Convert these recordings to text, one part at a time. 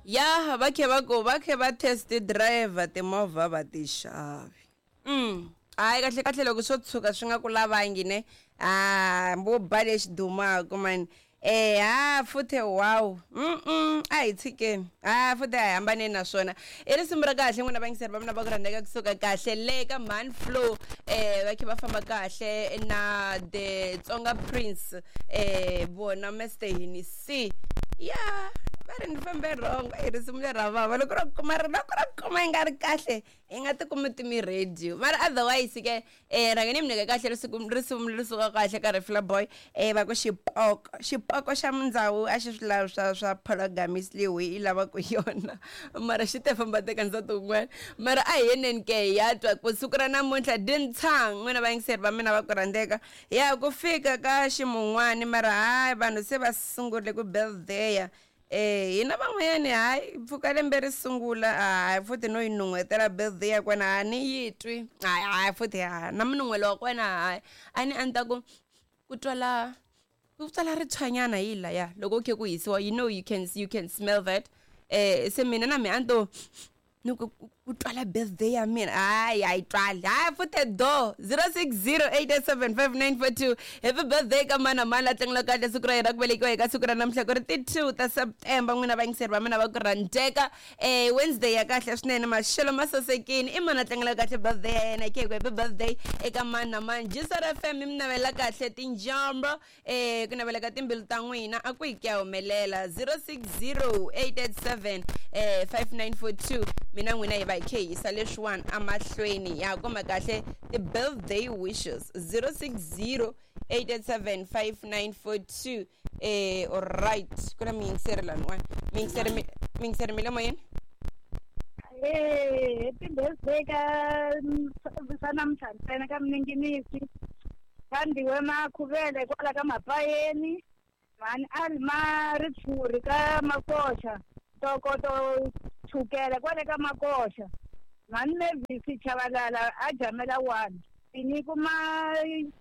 Ya va khe va ku va khe va test driver timovha va ti xavi. Hayi kahle kahle loko swo tshuka swi nga ku lavangi ne a mbo ba lexi dumaka mani. Ha futhe wow. A hi tshikeni. Ha futhe a hi hambaneni na swona. I risimu ra kahle n'wina vayingiseri va mina va ku rhandzeka kusuka kahle le ka Man Flow va khe va famba kahle na the Tsonga Prince vona Mr Hennessy. Ya va ri ni fambe wrong i risimu leri ra vava loko ro kuma ri loko ro kuma yi nga ri kahle i nga tikumi timi radio mara otherwise ke rhanga ni mi nyika kahle risimu risimu leri suka kahle ka Refla Boy va ku xipoko xipoko xa mindzawu a xi swi lavi swa swa polygamist leyi hi yi lavaka yona mara xi te famba teka nsati wun'wana mara a hi yeneni ke hi ya twa ku siku ra namuntlha dintshang n'wina vayingiseri va mina va ku rhandzeka ya ku fika ka ximun'wani mara hayi vanhu se va sungurile ku birthday hina van'wanyani hayi pfuka lembe ri sungula hayi futhi no yi nun'hwetela birthday ya kona a ni yi twi hayi hayi futhi ha na munun'hwelo wa kona hayi a ni a ni ta ku ku twala ku twala ritshwanyana hi laya loko ku khe ku hisiwa you know you can smell that se mina na me a ni to ni ku ku twala birthday ya mina hayi a yi twali hayi futhe do 0608875942 happy birthday ka mani na mani la tlangela kahle siku ra yena ku velekiwa eka siku ra namuntlha ku ri ti 2 ta September n'wina vayingiseri va mina va ku rhandzeka Wednesday ya kahle swinene maxelo ma sasekini i mani a tlangela kahle birthday ya yena khe ku happy birthday eka mani na mani Jisar FM mi mi navela kahle tinjombo ku navela ka timbilu ta n'wina a ku yi ku ya humelela 060887 5942 mina n'wina hi va hi khe hi yisa leswiwani amahlweni ya kuma kahle ti-birthday wishes 060887 5942 alright ku na miyingiseri laniwani miyingiseri miyingiseri mi le moyeni. Happy birthday ka swa namuntlha ntsena ka Mninginisi. Thandiwe Makhuvele kwala ka Mapayeni, mhani Alma Ritshuri ka Makoxa, Ntokoto Chukele kwale ka Makoxa, mhani Mavis Chavalala a Jamela 1, Tinyiko Maxindzi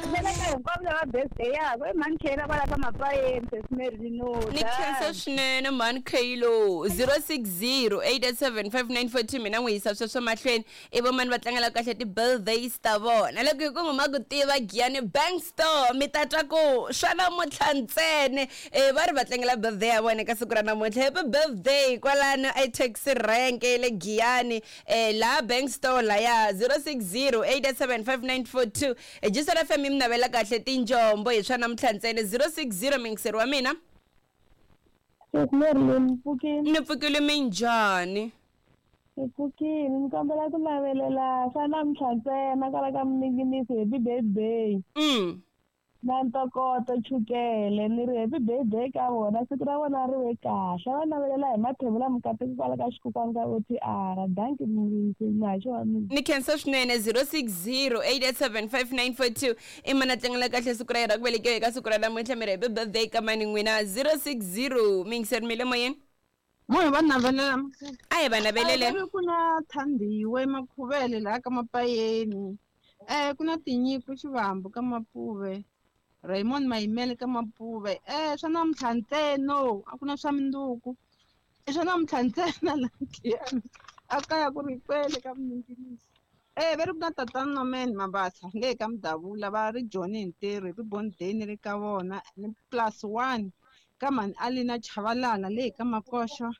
lela ka hinkwavo lava birthday yako i mhani Khela kwala ka Mapayeni sesi Mary no ni khensa swinene mhani Khelo 0608875942 mina n'wi yisa sweswo mahlweni i vo mani va tlangela kahle ti-birthdays ta vona loko hi ku ngoma ku tiva Giyani Bank Store mi ta twa ku swa namuntlha ntsene va ri va tlangela birthday ya vona eka siku ra namuntlha happy birthday kwalano etaxi rank le Giyani laha Bank Store laya 0608875942 Jisel FM yi mi navela kahle tinjombo hi swa namuntlha ntsena 060 muyingiseri wa mina. Sesi Marilyn, ni pfukile. Ni pfukile minjhani? Ni pfukile, ni kombela ku navelela swa namuntlha ntsena kwala ka Mninginisi happy birthday. Na ntokoto Chukele ni ri happy birthday ka vona siku ra vona ri ve kahle va navelela hi mathebula mukateki kwala ka xikukwana ka OTR danki muhaxi wa mina. Ni khensa swinene 0608875942 i mani a tlangela kahle siku ra yena ku velekiwa eka siku ra namuntlha mi ri happy birthday ka mani n'wina 060 mi yingiseri mi le moyeni. Mo hi va navelela A hi va navelele. A ku na Thandiwe Makhuvele laha ka Mapayeni. Ku na Tinyiko Xivambu ka Mapuve, Raymond Mayimele ka Mapuve. Swa namuntlha ntsena a ku na swa minduku. I swa namuntlha ntsena la Giyani. A kaya ku ri kwele ka Mninginisi. Va ri ku na tatana Norman Mabasa le ka Mudavula va ri Joni hi ntirho hi Born Day ni le ka vona ni plus 1 ka mhani Alina Chavalala le ka Makoxo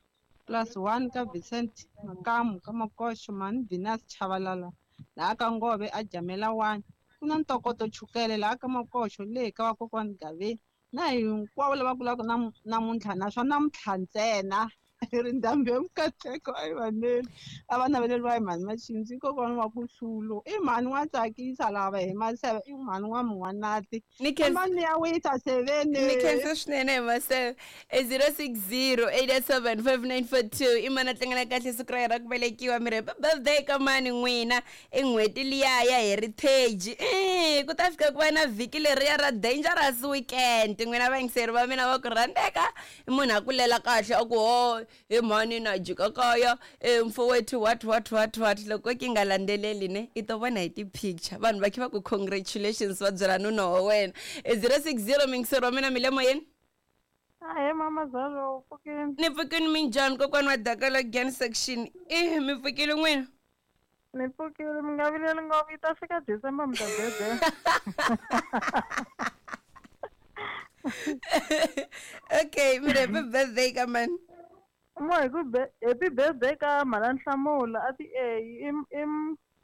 plus 1 ka Vincent Makamu ka Makoxo mhani Venus Chavalala laha ka Ngove a Jamela 1 ku na Ntokoto Chukele laha ka Makoxo le ka vakokwani Gaveni na hinkwavo lava kulaka namuntlha na swa namuntlha ntsena ri ndhambi ya mikateko a yi vaneli a va naveleriwa hi mhani Maxindzi kokwana wa ku hlulo i mhani wa tsakisa lava hi maseve i mhani wa mun'wanati mani ya wisa seveni ni khensa swinene hi maseve 0608875942 i mani a tlangela kahle siku ra yena ku velekiwa mi ri happy birthday ka mani n'wina i n'hweti liya ya heritage ku ta fika ku va na vhiki leriya ra dangerous weekend n'wina vayingiseri va mina va ku rhandzeka i munhu a kulela kahle a ku ho he mhani na jika kaya mfowethu what what what what loko ki nga landzeleli ne i to vona hi ti-picture vanhu va khe va ku congratulations va byela nuna wa wena 060 muyingiseri wa mina mi le moyeni. Ahee mama Zalo, u pfukini? Ni pfukini minjhani kokwani wa Dakala Gan section E, mi pfukile n'wina? Ni pfukile, mi nga vileli ngopfu, yi ta fika December mi ta bebela. Okay, mi ri happy birthday ka mani? Mo hi ku happy birthday ka mhana Nhlamulo a ti A i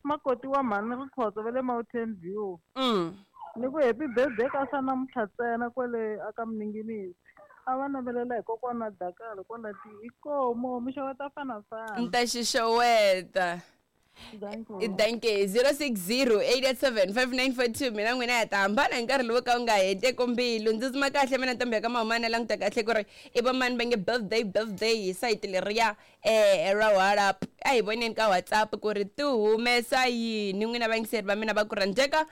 makoti wa mhani Rikhotso va le Mountain View. Ni ku happy birthday ka swa namuntlha ntsena kwale aka Mninginisi. A va navelela hi kokwana Dakala kwala ti inkomu mi xeweta fanafana. Ni ta xi xeweta. Danke. 060 887 5942. Mina n'wina ya ta hambana hi nkarhi lowu ka wu nga heteki mbilu. Ndzi tsuma kahle mina ntombi ya ka mahumana, languta kahle ku ri i va mani va nge birthday birthday hi sayiti leriya ra WhatsApp. A hi voneni ka WhatsApp ku ri ti humesa yini n'wina vayingiseri va mina va ku rhandzeka.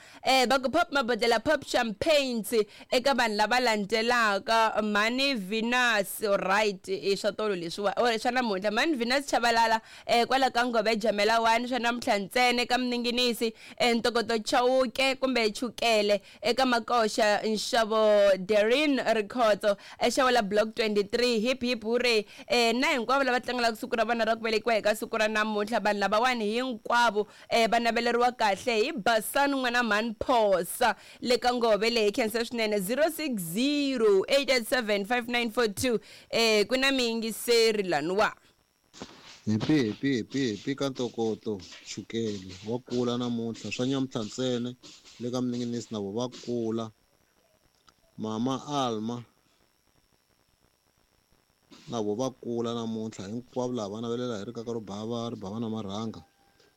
Va ku pop mabodlela, pop champagnes eka vanhu lava landzelaka: Mhani Venus, right, i swa tolo leswiwa or swa namuntlha. Mhani Venus Chavalala kwala ka Ngove Jamela 1, swa namuntlha ntsena eka Mninginisi. Ntokoto Chauke kumbe Chukele eka Makoxa, nxavo Derin Rikhotso exavo la Block 23, hip hip hooray. Na hinkwavo lava tlangelaka siku ra vona ra ku velekiwa eka siku ra namuntlha, vanhu lavawani hinkwavo va naveleriwa kahle hi Basani n'wana mhani Phosa le ka Ngove leyi. Khensa swinene. 060 887 5942. Ku na miyingiseri laniwa. Happy happy happy happy ka Ntokoto Chukele, wa kula namuntlha. Swa nyamuntlha ntsena le ka Mninginisi na vo va kula. Mama Alma na vo va kula namuntlha. Hinkwavo lava va navelela hi rikaka ro bava ri bava na marhanga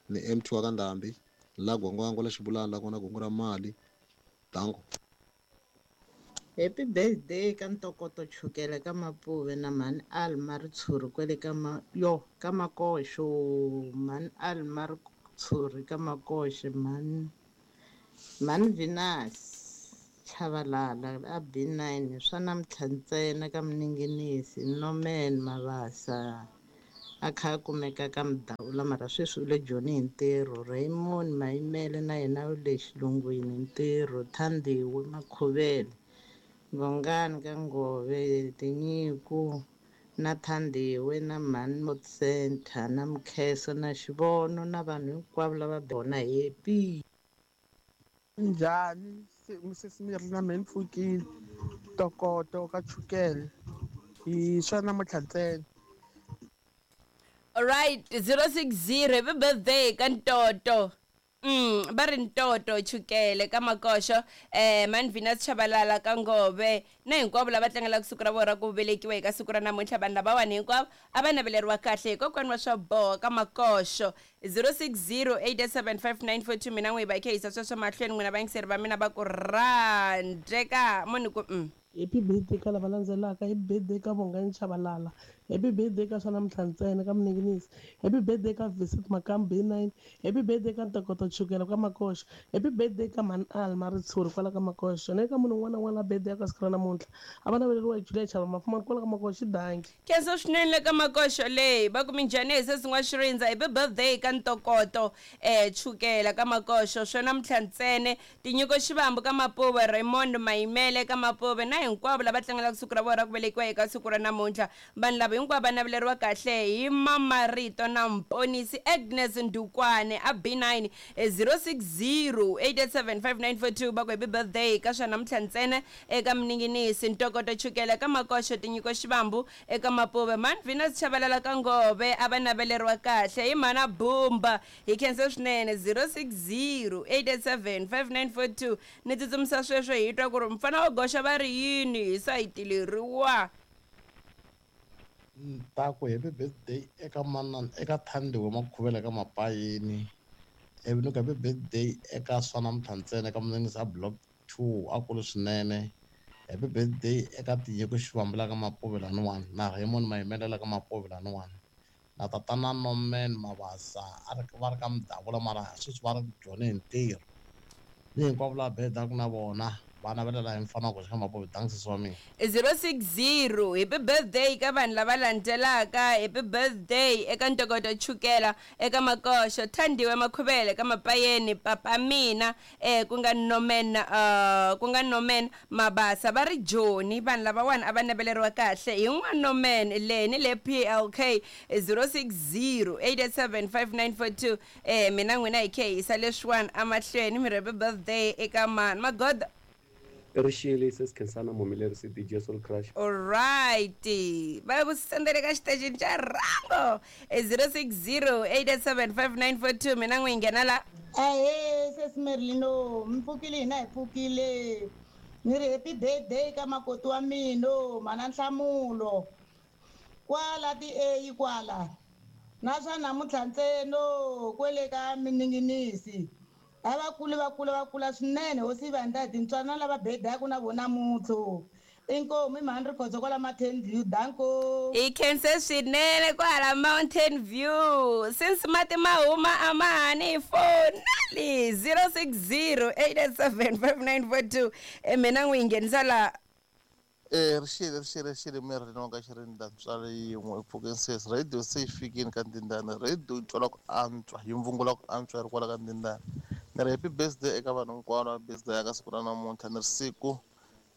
ni MT wa ka Ndhambi la Gwangwangwa la Xibulana la kona gongo ra mali. Danko. Happy birthday ka Ntokoto Chukele ka Mapuve na mhani Alma Ritshuri kwele ka ma yo ka Makoxo, mhani Alma Ritshuri ka Makoxo, mhani Venus Chavalala a B9, swa namuntlha ntsena ka Mninginisi, Norman Mabasa a kha a kumeka ka Mudawula mara sweswi u le Joni hi ntirho, Raymond Mayimele na yena u le xilungwini hi ntirho, Thandiwe Makhuvele Gongani ka Ngove, Tinyiko na Thandiwe na mhani Mot Center na Mkheso na Xivono na vanhu hinkwavo lava vona happy. Njhani misisi mi na mehe ni pfukile. Ntokoto ka Chukele hi swa namuntlha ntsena. Alright, 060, happy birthday ka Ntoto. Va ri Ntoto Chukele ka Makoxo, mani Venus Chabalala ka Ngove na hinkwavo lava tlangelaka siku ra vona ra ku velekiwa eka siku ra namuntlha. Vanhu lavawani hinkwavo a va naveleriwa kahle hi kokwani wa swa boha ka Makoxo. 060 887 5942. Mina n'wi hi va hi kha yisa sweswo mahlweni n'wina vayingiseri va mina va ku rhandzeka munhu ku. Happy birthday ka lava landzelaka: happy birthday ka Vongani Chabalala, happy birthday ka swa namuntlha ntsena ka Mninginisi, happy birthday ka Visit Makam B9, happy birthday ka Ntokoto Chukela ka Makoxo, happy birthday ka mhani Alma Ritshuri kwala ka Makoxo, na eka munhu un'wana na un'wana la birthday ya ka siku ra namuntlha. A va naveleriwa hi Julia Chava Mafumani kwala ka Makoxo. Danki. Khensa swinene le ka Makoxo leyi. Va ku minjhani hi sesi n'wa Xirindza? Happy birthday ka Ntokoto Chukela ka Makoxo, swa namuntlha ntsene, Tinyiko Xivambu ka Mapuve, Raymond Mayimele ka Mapuve na hinkwavo lava tlangelaka siku ra vona ra ku velekiwa eka siku ra namuntlha. Vanhu lava hinkwavo va naveleriwa kahle hi Mamarito na Mponisi Agnes Ndukwane a B9. 060 887 5942. Va ku happy birthday ka swa namuntlha ntsena eka Mninginisi, Ntokoto Chukela ka Makoxo, Tinyiko Xivambu eka Mapuve, mani Venus Chavalala ka Ngove. A va naveleriwa kahle hi mhana Bumba. Hi khensa swinene. 060 887 5942. Ni tsutsumisa sweswo hi twa ku ri mfana wa goxa va ri yini hi sayiti leriwa. Ta ku happy birthday eka manana, eka Thandiwe Makhuvela ka Mapayini, ivi ni ku happy birthday eka swa namuntlha ntsena eka Mninginisi a Block 2, a kulu swinene. Happy birthday eka Tinyiko Xivambu la ka Mapuve laniwani na Raymond Mayimele la ka Mapuve laniwani na tatana Norman Mabasa a ri va ri ka Mudavula mara sweswi va ri Joni hi ntirho, ni hinkwavo lava bedaku na vona. Va navelela hi mfana ku xika Mapuve. Thanks sesi wa mina. 060 happy birthday ka vanhu lava landzelaka. Happy birthday eka Ntokoto Chukela eka Makoxo, Thandiwe Makhuvele ka Mapayeni, papa mina ku nga Norman ku nga Norman Mabasa va ri Joni. Vanhu lavawani a va naveleriwa kahle hi n'wa Norman le ni le PLK. 060 887 5942. Mina n'wina hi khe hi yisa leswiwani amahlweni. Mi ri happy birthday eka mani magoda? Rixile sesi Khensana Muhumelerisi DJ Soul Crush. Alright, va ku sendele ka xitejini xa rhango 060 887 5942. Mina n'wi nghena la. Ahee sesi Merlino, mi pfukile? Hina hi pfukile. Ni ri happy birthday ka makoti wa mina, mana Nhlamulo kwala ti-A kwala na swa namuntlha ntseno kwele ka mininginisi. A va kuli, va kula, va kula swinene. Hosi va endla hi tintswana lava bedaku na vona mutlo. Inkomu, i mhani Rikhotso kwala Mountain View. Danko. Hi khense swinene kwala Mountain View. Since mati ma huma a ma ha ni fonali. 060 887 5942. Mina n'wi nghenisa la. Rixile, rixile, rixile Merlin wa ka Xirinda ntswalo yin'we. Pfukeni sesi, radio se yi fikini ka Ndindani. Radio yi twala ku antswa, yi mvungula ku antswa yi ri kwala ka Ndindani. Ni ri happy birthday eka vanhu hinkwavo va birthday ya ka siku ra namuntlha. Ni ri siku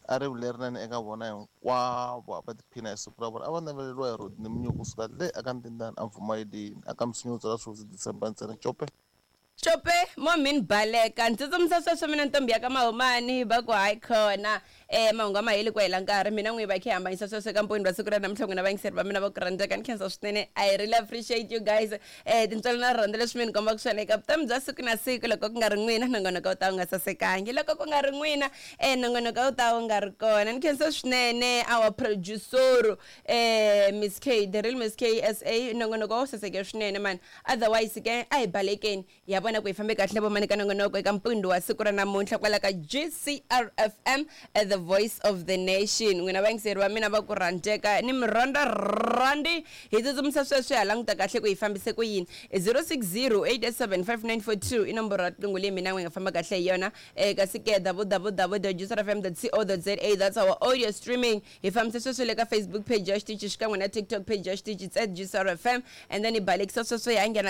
a ri lerinene eka vona hinkwavo, a va tiphina hi siku ra vona. A va naveleriwa hi Rodney Munyuku kusuka le aka Ndindani a Mvumayeleni aka Msinya wo tswala swihosi December ntsena. Cope. Cope mo min baleka ni tsutsumisa sweswo mina ntombi ya ka Mahumani va ku hayi khona mahungu a ma heli ku hela nkarhi. Mina n'wi va khe hambanyisa sweswo eka mponi wa siku ra namuntlha. N'wina vayingiseri va mina va ku rhandzeka, ni khensa swinene. I really appreciate you guys, tintswalo na rirhandzu leswi mi ni kombaka swona eka vutomi bya siku na siku. Loko ku nga ri n'wina, nongonoko wu ta wu nga sasekangi. Loko ku nga ri n'wina, nongonoko wu ta wu nga ri kona. Ni khensa swinene our producer, Miss K, the real Miss K SA. Nongonoko wu saseke swinene man. Otherwise ke a hi balekeni ya vona ku hi fambe kahle vomani ka nongonoko eka mpundzu wa siku ra namuntlha kwala ka GCRFM, the voice of the nation. N'wina vayingiseri va mina va ku rhandzeka, ni mi rhandza rhandi. Hi tsutsumisa sweswi ha languta kahle ku hi fambise ku yini. 060 887 5942 i nomboro ya tinqingho leyi mina n'wi nga famba kahle hi yona. Kasi ke www gcrfm co za, that's our audio streaming. Hi fambise sweswo le ka Facebook page ya xitichi xikan'we na TikTok page ya xitichi, it's at GCRFM. And then hi balekisa sweswo hi ya nghena ka